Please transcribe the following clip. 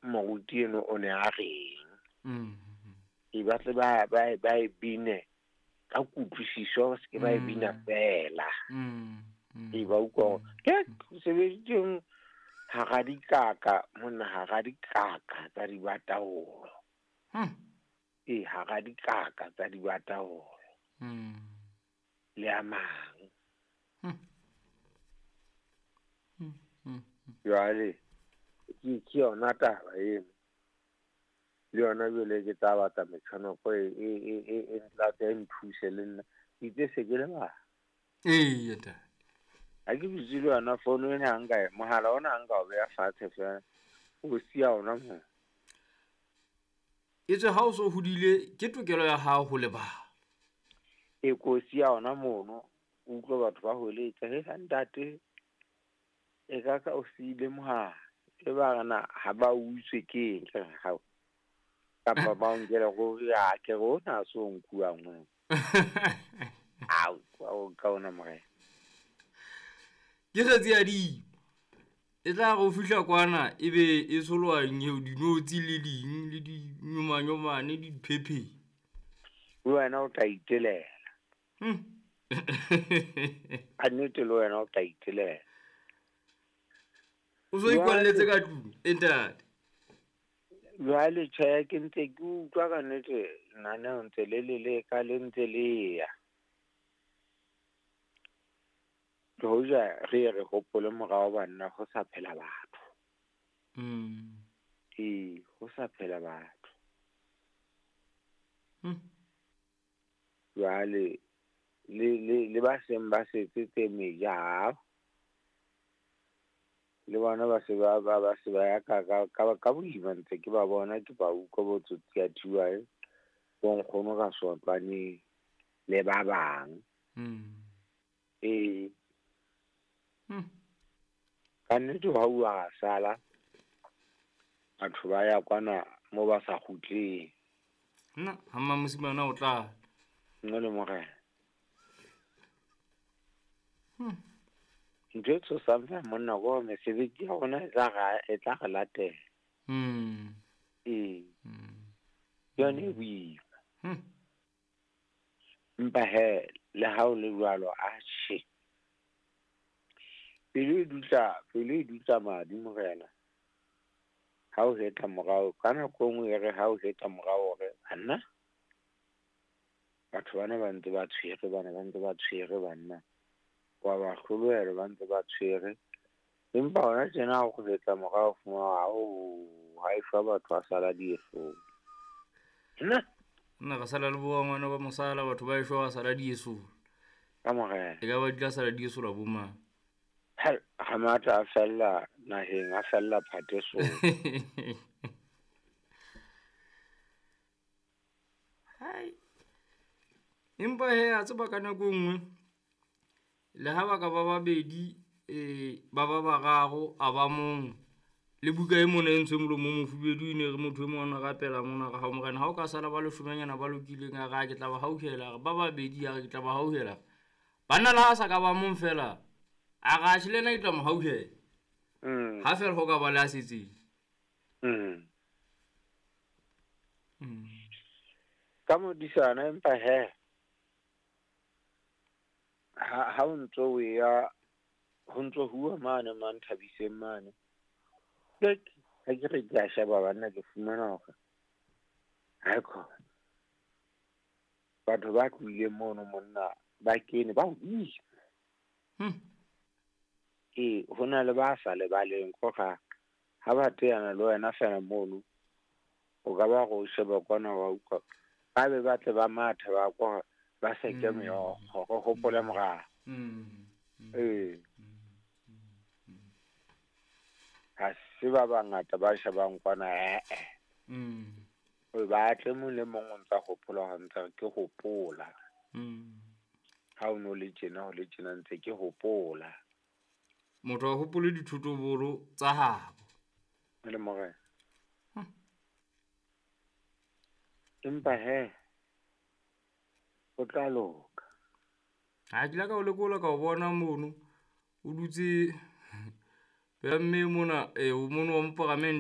Moruti eno o ne a reng. E batle ba e bine ka kutlwisiso, se ke ba e bina fela. E ba utlwa ke sebeditseng hara dikaka monna, hara dikaka tsa dibataolo. E hara dikaka tsa dibataolo. Le a mang. Jwale ke yona taba eno. Le yona jwale ke tla batla metjhonoko e ntlatse e nthuse le nna. Ke itse se ke lebala. Eya ntate. Ha ke dutse le yona fono ena ha nka mohala ona ha nka o beha fatshe fela. O siya ona moo. Etswe ha o so hodile ke tokelo ya hao ho lebala. E ko siya ona mono, o utlwe batho ba hweletsa, he ntate e ka ka o siile mohala. E ba re na ha ba utswe ke eng, ke re hao. Kapa ba o nkele ruri, a ke re ona ha se o nkuwang ona. Ao, o nka ona morena. Ke kgetsi ya dimo. E tla re o fihla kwana ebe e tsholoha dinotshi le ding le dinyomanyomane le diphepheng. Le wena o tla itelela. Ka nnete le wena o tla itelela. O so ikwalletse ka tlung, e ntate. Jwale tjhe, ke ntse ke utlwa ka nnete lenaneo ntse le le leka le ntse le ya. Le hoja re ye re hopole morao banna ho sa phela batho. Ee, ho sa phela batho. Jwale le ba seng ba setse tse meja, le bona ba se ba se ba ya ka boima ntse ke ba bona, ke ba utlwa bo tsotsi ya thiwae, bo nkgono ka sotlwaneng le ba bang. Ee. Ka nnete ha uwa sala batho ba ya kwana mo ba sa kgutleng. Nna ha mmamosimane o tla. Nna le morena. Ntho e tshosang fela monna ke hore mesebetsi ya rona e tla re latela. Ee. Ke yona e boima. Empa he le ha o le jwalo atjhe. Pelo e dutla madi morena. Ha o hetla morao, ka nako e nngwe e re ha o hetla morao hore banna batho bana ba ntse ba tshwere, bana ba ntse ba tshwere banna. Wa ba hlolohela ba ntse ba tshwere. Empa hona tjena ha o hetla morao fumana ha e shwa batho ba sala diesong. Nna nna re sala le bo ngwana ba mosala, batho ba eshwa ba sala diesong. Ka morena. E ka ba di tla sala dieso la bo mang? Ha matla a fella naheng, a fella phatesong. Hai. Empa he a tseba ka nako e nngwe le ha ba ka ba babedi, ba ba bararo, a ba mong. Le buka e mona e ntshwe molomo o mofubedu e ne re motho e mong a rapela mona re hao morena, ha o ka sala ba leshomenyana ba lokileng, a re a ke tla ba hauhela, re ba babedi, a re ke tla ba hauhela. Banna le ha sa ka ba mong fela, a re atjhe le yena ke tla mo hauhela. Ha fela ho ka ba le a setseng. Ka modisana empa he ha o ntso o ya ho ntso huwa mane Manthabiseng mane. Ha ke re ke a sheba banna ke fumana hore ha khona. Batho ba tlohileng mono monna ba kene ba hodimo. Ee, ho na le ba sa lebaleng kore ha ba teana le wena fela mono, o ka ba re o sheba kwana wa utlwa. Ba be ba tle ba mathe ba kwa ba seke meokgo, re hopole morao. Ee. Ha se ba bangata ba shebang kwana O ba tle mong le mong o ntsa hopola hore ntse ke hopola. Ha o no le tjena ho le tjena ntse ke hopola. Motho a hopole dithotobolo tsa habo. Le morena. Empa he o tla loka. Ha ke la ka o lekola ka o bona mono o dutse pela mme mona, o mono wa moparamente.